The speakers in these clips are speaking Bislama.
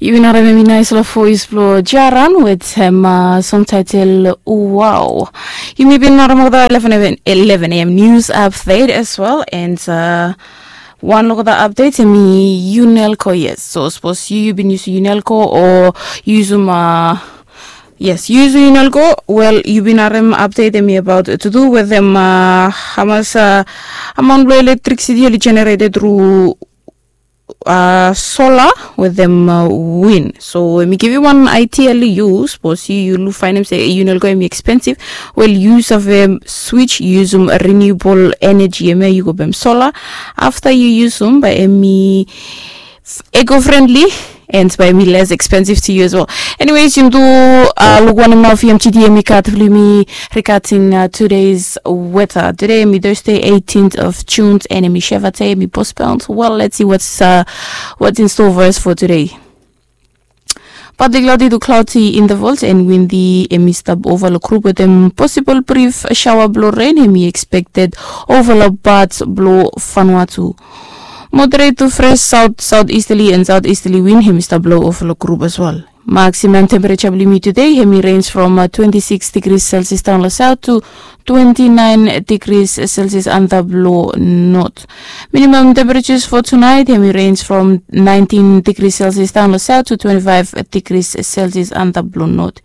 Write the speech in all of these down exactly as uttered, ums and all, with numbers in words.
Yumi bin harem em i nais long voes blong Jaran wetem song title Wow. Yumi bin harem olgeta eleven a.m. news update as well, and uh, wan long olgeta update em i Unelco. Yes, so sapos yu yu bin yusum Unelco o yusum uh, yes, yu yusum Unelco, wel yu bin harem update em i about to do wetem uh, hamas uh, amount blong electricity oli generated through uh, solar wetem uh, win. So em i givim wan idea long yu, sapos yu yu luk fainem se Unelco em i expensive, wel yu save switch yusum renewable energy, em ya yu go baem solar. Afta yu yusum bae em i eco friendly and bae em i less expensive to you as well. Anyways, yumi tu uh, luk wanem nao VMTD em i gat blong yumi regarding uh, today's weather. Today em i Thursday, eighteenth of June, and em i Sheva day, em i postponed. Well, let's see what's uh, what's in store for us for today. Partly cloudy to cloudy in the vault and windy, em i stap ova long group wetem possible brief shower blong rain em i expected ova long parts blong Vanuatu. Moderate to fresh south southeasterly and southeasterly wind em i stap blow ova long group as well. Maximum temperature blong yumi today em i range from uh, twenty-six degrees Celsius down long south to twenty-nine degrees Celsius antap long north. Minimum temperatures for tonight em i range from nineteen degrees Celsius down long south to twenty-five degrees Celsius antap long north.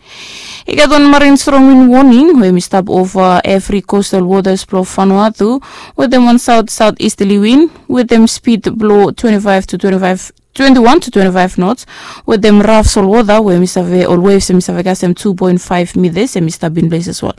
I gat wan marine strong wind warning we em i stap ova evri coastal waters blong Vanuatu wetem wan south southeasterly wind wetem speed blong twenty-five to twenty-five twenty-one to twenty-five knots wetem rough salt water we em i save ol waves em i save kasem two point five meters em i stap in place as well.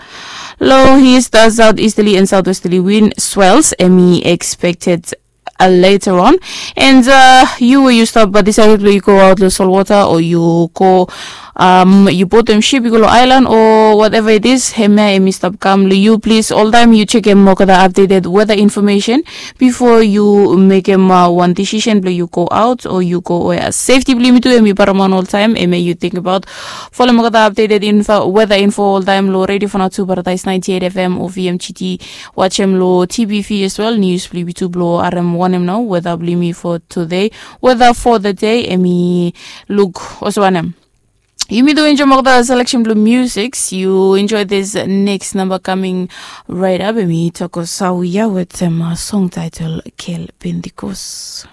Low east uh, southeasterly and southwesterly wind swells em i expected uh, later on. And uh, you where you stop but decided where you go out the salt water or you go um, you bought them ship you go to island or whatever it is, hemia em i stop kam long you. Please all time you check em olgeta updated weather information before you make em uh, one decision blong you go out or you go where safety blong yumi tu em i paraman all time. Em you think about follow olgeta updated info weather info all time long radio for now to Paradise ninety-eight FM or VMGT. Watch em long TBV as well. News blong yumi tu blong harem wanem nao weather blong yumi for today. Weather for the day em i look also wanem. Yumi tu enjoy olgeta selection blong music. You enjoy this next number coming right up. Em i Toko Sauya wetem uh, song title Kel Pentecost.